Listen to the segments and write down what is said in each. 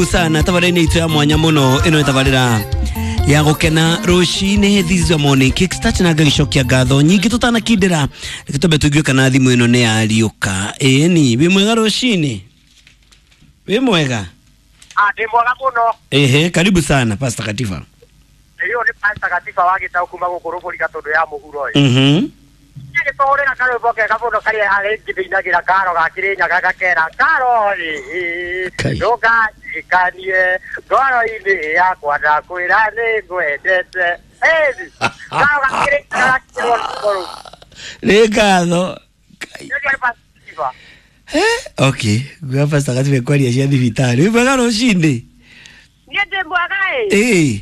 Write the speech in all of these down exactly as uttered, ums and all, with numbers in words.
Sana tabarĩra itũ ya mwanya mũno ĩno nĩ tabarĩra ya gũkena rũcinĩ. This is your morning kickstart na ngagĩcokia ngatho nyingĩ. Tũtanakindĩra, reke twambe tũigue kana thimũ ĩno nĩ yariũka. Ĩni, wĩ mwega rũcinĩ? Wĩ mwega? Ah, ndĩ mwega mũno. Ehe, karibu sana, Pastor Katifa. Ĩyo nĩ Pastor Katifa wa Gĩtaũ kuma gũkũ Rũbũri Gatũndũ ya mũhuro ĩ. Mhm Gĩtũhũrĩra karwĩmbo kega mũno karĩa arĩ ngĩthĩinagĩra karo ga Kĩrĩnyaga gakera karo ĩ. Kai. Ndũkanjikanie ngoro-inĩ yakwa, ndakwĩra nĩ ngwendete. Ĩni karo ga Kĩrĩnyaga gakĩrwo rwĩmbo rũu. Nĩ ngatho. Kai. Nĩ nĩ Pastor Katifa. Eh, okay, gwa Pastor Katifa kwaria cia thibitarĩ. Wĩ mwega rũcinĩ? Niĩ ndĩ mwega ĩ. Ĩĩ.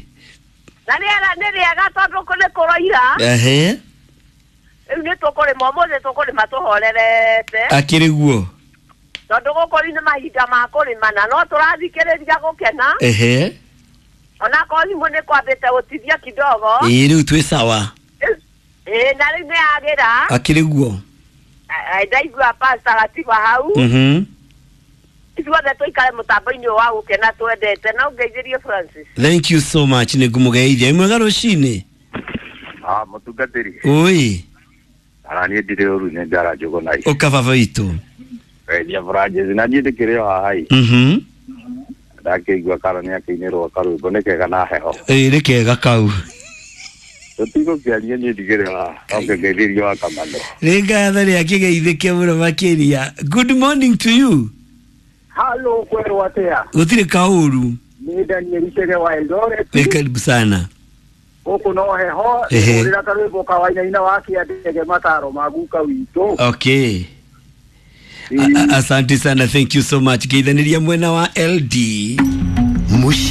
Na rĩera nĩ rĩega tondũ nĩ kũroira. Ehe. Rĩu nĩ tũkũrĩma ũmũthĩ, tũkũrĩma tũhorerete. Akĩrĩ guo. Tondũ gũkũ rĩu nĩ mahinda ma kũrĩma na no tũrathikĩrĩria gũkena. Ehe. Onakorwo thimũ nĩ kwambĩte gũtithia kidogo. Ĩĩ, rĩu twĩ sawa. Ĩĩ, na rĩu nĩ yagĩra. Akĩrĩ guo. Eh, ndaigua Pastor Gatiba hau. Mhm ithuothe tũikare mũtambo-inĩ ũyũ wa gũkena twendete na ũngeithĩrie Francis. Thank you so much, nĩ ngũmũgeithia. Wĩ mwega rũcinĩ? Ah, mũtungatĩri. Ũĩ. Ara niĩ ndirĩ ũru, nĩ njara njũgũna i. Ũka baba witũ. Geithia Francis, na niĩ ndĩkĩrĩ o haha i. Mhm ndakĩigua karo nĩ akĩinĩrwo karwĩmbo nĩ kega na heho. Ĩĩ, nĩ kega kau. Tũtigũkĩaria, niĩ ndigĩrĩ haha oke ngeithĩrio wa kamano. Nĩ ngatho rĩa kĩgeithĩke mũno makĩria. Good morning to you. Halo, kwerwo atĩa? Gũtirĩ kaũru. Nĩ Daniel Chege wa Eldoret. Nĩ karibu sana. Gũkũ no heho. Ehe. Hũrĩra karwĩmbo ka Wainaina wa Kĩandege, mataro ma guka witũ. Okay. A- a- asante sana, thank you so much. Geithanĩria mwena wa L D. Muciĩ.